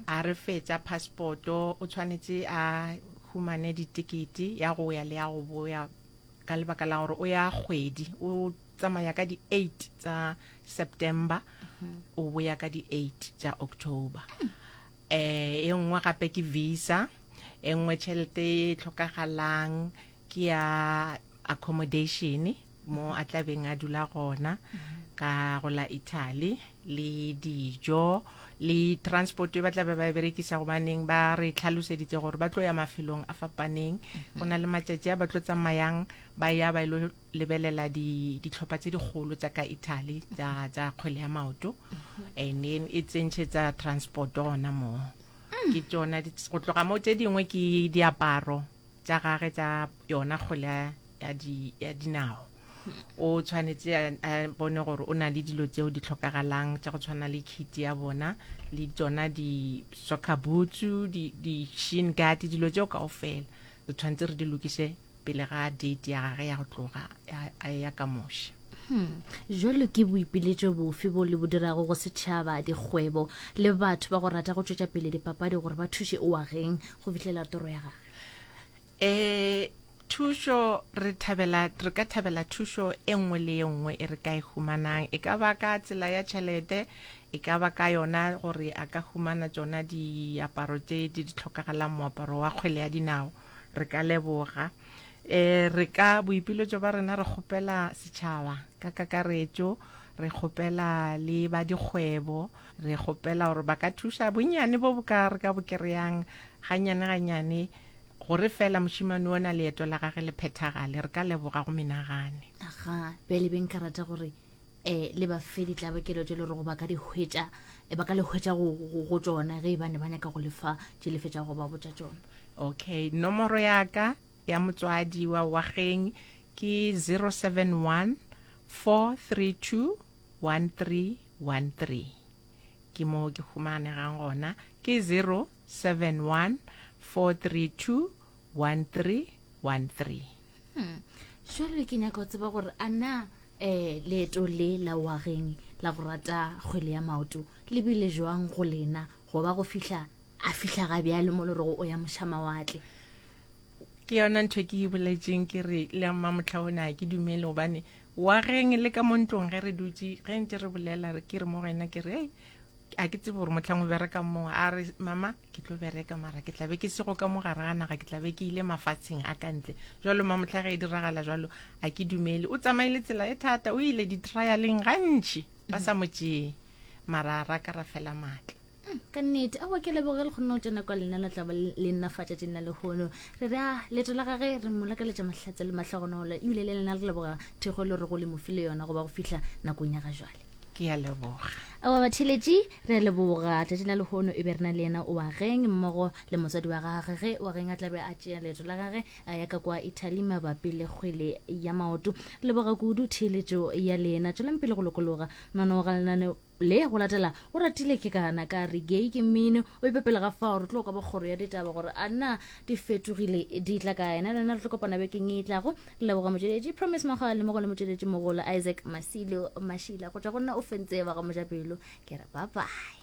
A re fetša passport-o, o tshwanetše a humane ditekete ya go ya le ya go boya ka lebaka la gore o ya kgwedi, o tsamaya ka di-eight tsa September, o boya ka di-eight tša October. Eh, e nngwe gape ke visa, e nngwe tšhelete e tlhokagalang ke ya accommodation mo a tla beng a dula gona ka go la Italy le dijo le transport e ba tla be ba e berekisa gobaneng ba re tlhaloseditse gore ba tlo ya mafelong a fapaneng go na le matšatši a ba tlo tsamayang ba ya ba ilo lebelela dihlopha tse dikgolo tša ka Italy tša tša kgwele ya maoto and then e tsentšhetsa transport gona moo ke tšona go tloga mo tše dingwe ke diaparo tša gage tša yona kgwele ya, di, ya dinao o tshwanetse a bone gore o na le dilo tseo di tlhokagalang tša go tshwana le kit ya bona le tsona di-soccer boots di-shin guard dilo tseo kaofela re tshwanetse re di lokiše pele ga date ya gage ya go tloga a ya ka moše. Hmm. Jwalo ke boipiletšo bofe bo le bo dirago go setšhaba, dikgwebo le batho ba go rata go tšwetša pele dipapadi gore ba thuše Oageng go fihlela toro ya gagwe? E, thušo re thabela re ka thabela thušo e nngwe le e nngwe e re ka e humanang e ka ba ka tsela ya tšhelete e ka ba ka yona gore a ka humana tšona diaparo tše di di tlhokagalang moaparo wa kgwele ya dinao Re ka leboga. E, re ka, boipiletšo ba rena re kgopela setšhaba ka kakaretšo, re kgopela le ba dikgwebo, re kgopela gore ba ka thuša bonnyane bo bo ka re ka bo kereyang gannyane gannyane gore fela mošemane ona leeto la gage le phethagale. Re ka leboga go menagane. Aga, bjale be nka rata gore um le ba fe ditlabakelo tše le rego ba ka di hwetša, eh, ba ka le hwetša go, go, go tšona ge e ba ne ba nyaka go le fa tše le fetšago go ba botša tšona. Okay, nomoro ya ka ya motswadi wa Wageng ke 071 432 1313. Ke mo ke humanegang gona, ke 071 432 1313. Hmm. Jwale ke nyaka go tseba gore a na um leeto le la Wageng la go rata kgwele ya maoto le bile jwang go lena go ba go fihla a fihla ga bjale mo le rego o ya mošamawatle. Ke yona ntho e ke e boletšeng ke re le mmamohla ona ke dumele gobane wageng le ka mo ntlong ge re dutše ge ntse re bolela ke re mo go yena ke re ei a ke tsebe gore motlhang o bereka moo a re mama ke tlo bereka mara ke tlabe ke sego ka mo gare ga naga ke tlabe ke ile mafatsheng a ka ntle jalo mamotlha ge e diragala jalo a ke dumele o tsamaile tsela e thata o ile di-trialeng gantši ba sa mo tšee mara ra ka ra fela maatla Ka nnete, aowa ke leboge le kgonne go tsena kwa lena la tla ba le nna fa tšatšing la lehono. Re re a leeto la gage re mo lakaletša mahlatse le mahlogonolo ebile le lena re leboga thekgo le rego le mo file yona go ba go fihla nakong ya ga jwale. Ke a leboga. Aowa batheeletši re a leboga tšatšing la lehono e be re na le yena Oageng mmogo le motswadi wa gage ge Oageng a tla be a tšea leeto la gage a ya ka kwa Italy mabapi le kgwele ya maoto. Re leboga kudu theeletšo ya lena. Tšwelang pele go lokologa mananeo ga lenaneo Le go latela o ratile ke kana ka re gay ke mmino o ipe pele ga fao re tlo kwa ba kgoro ya ditaba gore a na di fetogile di tla kae na lena re tlo kopana bekeng e tlago re leboga motšweletši Promise Mogale mmogo le motšweletši mogolo Isaac Masilo Mashila go tšwa go nna o fentse ba ga mojapelo ke re bye bye.